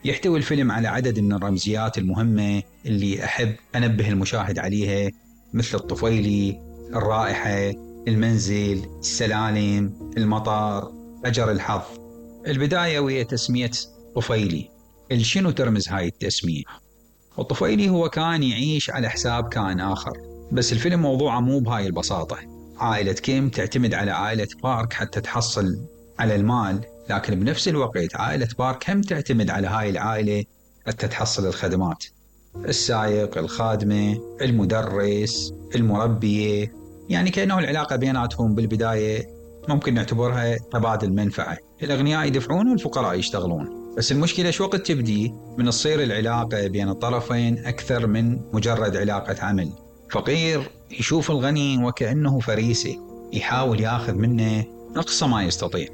يحتوي الفيلم على عدد من الرمزيات المهمة اللي أحب أنبه المشاهد عليها، مثل الطفيلي، الرائحة، المنزل، السلالم، المطار، أجر الحظ. البداية وهي تسمية طفيلي. شنو ترمز هاي التسمية؟ الطفيلي هو كان يعيش على حساب كائن آخر، بس الفيلم موضوعه مو بهاي البساطة. عائلة كيم تعتمد على عائلة بارك حتى تحصل على المال، لكن بنفس الوقت عائلة بارك هم تعتمد على هاي العائلة حتى تحصل الخدمات. السائق، الخادمة، المدرس، المربية، يعني كأنه العلاقة بيناتهم بالبداية ممكن نعتبرها تبادل منفعة. الأغنياء يدفعون والفقراء يشتغلون، بس المشكلة شو وقت تبدي من تصير العلاقة بين الطرفين أكثر من مجرد علاقة عمل. فقير يشوف الغني وكأنه فريسة، يحاول ياخذ منه أقصى ما يستطيع.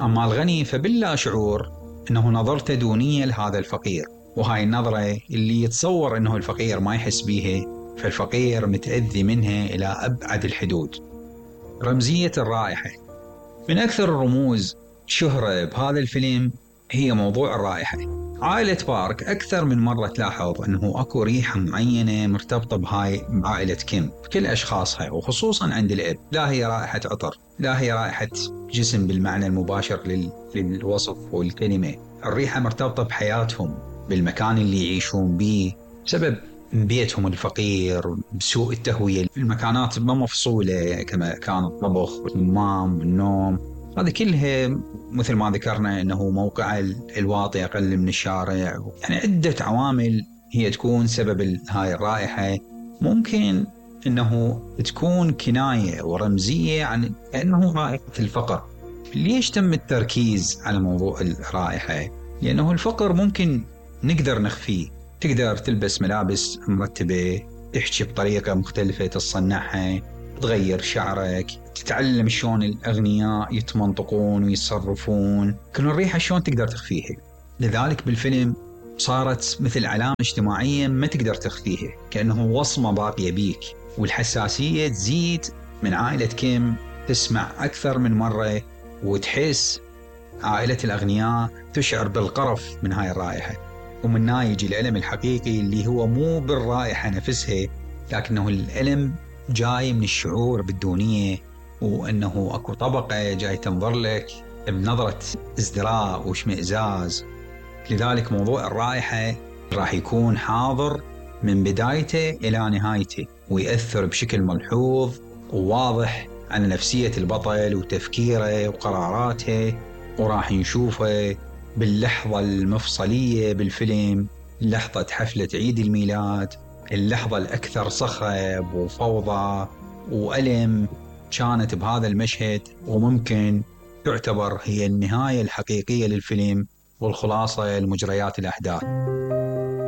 أما الغني فبلا شعور أنه نظرته دونية لهذا الفقير، وهاي النظرة اللي يتصور أنه الفقير ما يحس بيها، فالفقير متأذي منها إلى أبعد الحدود. رمزية الرائحة من أكثر الرموز شهرة بهذا الفيلم هي موضوع الرائحة. عائلة بارك أكثر من مرة تلاحظ أنه أكو ريحة معينة مرتبطة بهاي عائلة كيم بكل أشخاصها، وخصوصا عند الأب. لا هي رائحة عطر، لا هي رائحة جسم بالمعنى المباشر للوصف والكلمة. الريحة مرتبطة بحياتهم، بالمكان اللي يعيشون به، بسبب بيتهم الفقير، بسوء التهوية، المكانات ما مفصولة كما كان الطبخ والحمام والنوم. هذه كلها مثل ما ذكرنا أنه موقع الواطي أقل من الشارع، يعني عدة عوامل هي تكون سبب هاي الرائحة. ممكن أنه تكون كناية ورمزية عن أنه رائحة الفقر. ليش تم التركيز على موضوع الرائحة؟ لأنه الفقر ممكن نقدر نخفيه. تقدر تلبس ملابس مرتبة، تحكي بطريقة مختلفة تصنعها، تغير شعرك، تتعلم شلون الأغنياء يتمنطقون ويتصرفون. كل الريحة شلون تقدر تخفيها. لذلك بالفيلم صارت مثل علامة اجتماعية ما تقدر تخفيها، كأنه وصمة باقية بيك. والحساسية تزيد من عائلة كيم، تسمع أكثر من مرة وتحس. عائلة الأغنياء تشعر بالقرف من هاي الرائحة، ومن هنا يجي الألم الحقيقي اللي هو مو بالرائحة نفسها، لكنه الألم جاي من الشعور بالدونية، وأنه أكو طبقة جاي تنظر لك بنظرة ازدراء واشمئزاز. لذلك موضوع الرائحة راح يكون حاضر من بدايته إلى نهايته، ويأثر بشكل ملحوظ وواضح على نفسية البطل وتفكيره وقراراته. وراح نشوفه باللحظة المفصلية بالفيلم، لحظة حفلة عيد الميلاد، اللحظة الأكثر صخب وفوضى وألم كانت بهذا المشهد، وممكن تعتبر هي النهاية الحقيقية للفيلم والخلاصة لمجريات الأحداث.